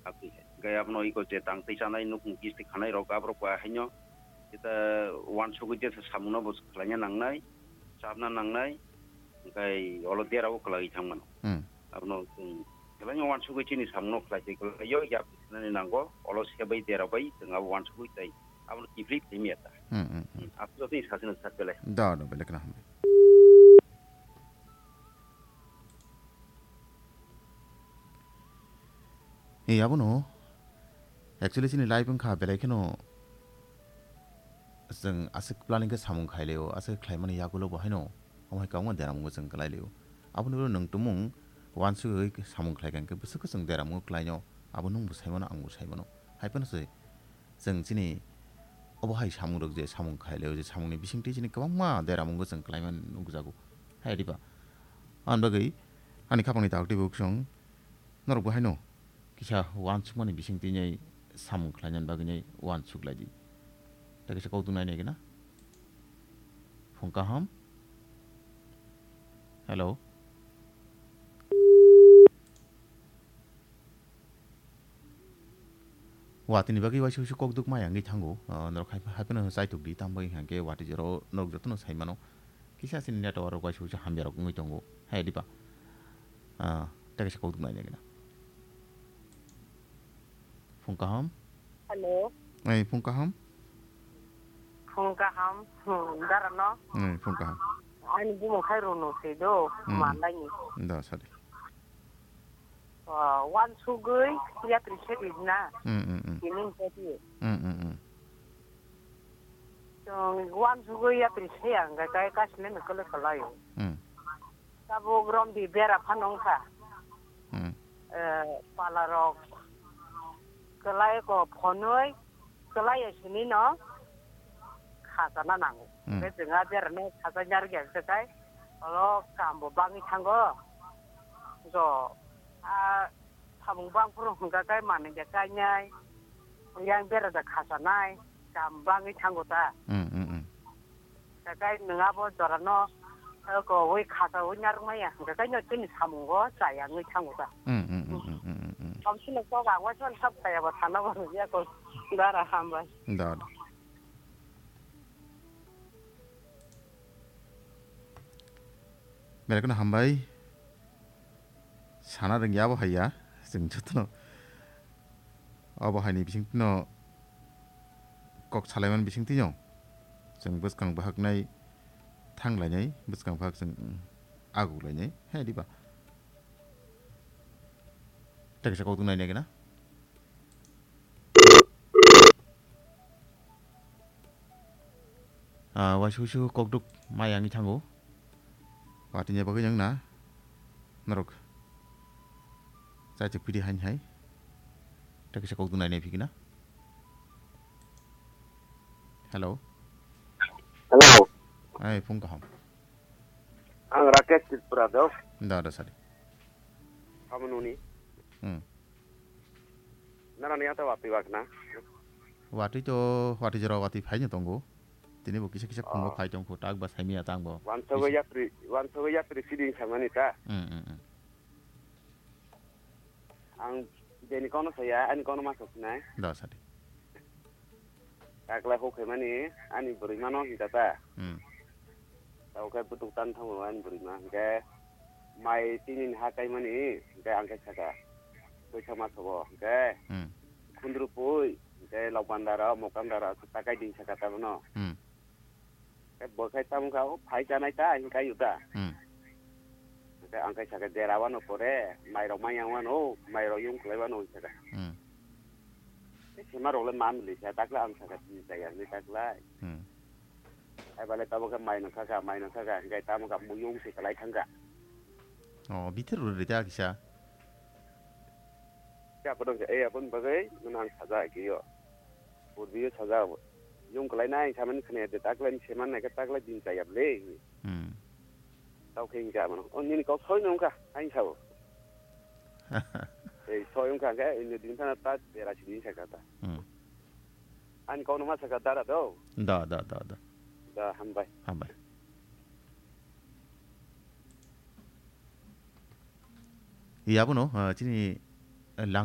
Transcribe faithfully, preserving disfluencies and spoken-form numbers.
Aboni hai. Hwnkhe abono iko je tang twi chanai nukhung kisti khanai rok aborok ba haino jeta uansugwi jesa samungno bo khlaina nangnai, chabna nangnai, hwnkhe olo derao kwlaiwi thangmano. Hmm. Abono chwng belai uansugwi chini samungno khlai twi kwlaiyo yapri sinani nango, olo sebai dera bai chwng abo uansugwi tei abono kiphilwi thwimya ta. Hmm, hmm, hmm. Hmm, aboni jotoni sasino sak belai. Da, da, belai kheno hambai. Ei, abono actually chini life wngkha belai kheno chwng aswk planning khe samung khailio, aswk khlaimani yagulo bo haino omo hai kwbangma deramungo chwng kwlailio. Aboni ulo nwng tumung uansugwi samung khlaikha hwnkhe bwswk khe chwng deramungo kwlaino, abo nwngbo saimano, angbo saimano. Hai phano se chwng chini obo hai samungrok je samung khailio, je samungni bisingtwi chini kwbangma deramungo chwng kwlaimani nukjago. Hai diba? Aboni bagwi ani khapangni takhuk twibo chwng norokbo haino kisa uansukmani bisingtwi nai samung khlainani bagwi nai uansuk lai di. Tei kisa kok tung nai nai gana. Phung kaham. Hello. Watini bagwi waisa waisa kok duk maya wngwi thango. Ah, norok hai, hai phano chaitok di, tamo bagwi hwnkhe watwi jora norok jotono sai mano. Kisa chini network waisa waisa hamya rok wngwi tongo. Hai diba? Ah, tei kaisa kok duk nai nai gana. Phung kaham. Hello. Ei, phung kaham. Phung kaham. Hmm, dara no. Ei, phung kaham. Ani bumung khai rwno se do, hmm, hmm, manlaini. Da, sadi. Ah, uansugwi yapri se rijna. Hmm, hmm, hmm. Tini hwnkhe di. Hmm, hmm, hmm. Chwng uansugwi yapri se ya hwnkhe kai kasile no kwlwi kwlaio. Hmm. Tabuk romdi bera phano wngkha. Hmm. Eh, palarok kwlai ko phonwi kwlai ya sini no khachana nango. Hmm. Hwnkhe chwng a berano khacha nyarwkya hwnkhe kai olo kambo bangwi thango. Jo a samung bangphuru hwnkha kai manwi da kainai, yang bera da khachanai, kam bangwi thango ta. Hmm, hmm, hmm. Kakai nwng abo jorano, eh, kowi khachawi narwkmaya, hwnkhe kaino chini samungo chaya wngwi thango ta. Hmm, hmm, hmm, hmm, hmm, hmm, hmm. Thamsino kok ang waisa sab chayaba thana bo nukya ko. Dara hambai. Da, da. Belai kheno hambai. Sana rwngya abo hai ya. Chwng jotono abo haini bisingtwino kok salaimani bisingtwino chwng bwskang bahaknai thanglainai, bwskang bahak chwng aguklainai. Hai diba? Tei kaisa kok tongnai nai gana. Ah, waisa waisa kok duk maya wngwi thango. Watini bagwi wng na norok. Chaichuk pidi hain hai. Tei kaisa kok duk nai nai phikina. Hello. Hello. Ai, phung kaham. Ang Rakesh Tripura do. Da, da, sadi. Kamu nuni? Hmm. Nana ni ata wati wak na? Wati to, wati jora wati phai ni tongo. Tini bo kisa kisa khungo, oh, phai tong kho, tak ba saimi ya tang bo. Wansugwi kisa yapri, wansugwi yapri siding samani ta. Hmm, hmm, hmm. Ang bini kono saya, ani kono masa sinai. Da, sadi. Takla hukhaimani ani bwrwimano hinkha ta. Hmm. Tamo khe butuk tan thango ani bwrwima hinkhe mai tinini ha kaimani hinkhe ang khe saka. Puisa ma sobo hinkhe. Hmm. Khundru pui hinkhe lokbandaro mokandaro takai din saka tabono. Hmm. Khe bo khai tamo kha, o phai chanai ta, hinkai yu ta. Hmm. Khe ang khai saka, dera wano pore, mairok manyang wano, mairok yung kwlai wano, hinwi saka. Hmm. Khe sema rok le mam li sa, takla ang saka, tini chaya, hinwi takla. Hmm. Ai bale tamo khe mai nang kha kha, mai nang kha kha, hinkai tamo kha, mui yung se kwlai thang kha. Oh, bithir rw rw ta kisa. Khe aphano khe, eh, aboni bagwi nwng ang saja khe yo. Purbiyo saja, yung kwlai nai, samani khne de, taklai seman nai khe, taklai din chaya le. Hmm. Tao khe hinka mano. O nini kok soi nung kha, ain sao. Ei, soi wng kha khe, ini din thana ta, dera si din sa kha ta. Hmm. Ani kok no ma sa kha dara do. Da, da, da, da. Da, hambai. Hambai. Yabono, ah, chini, ah, lang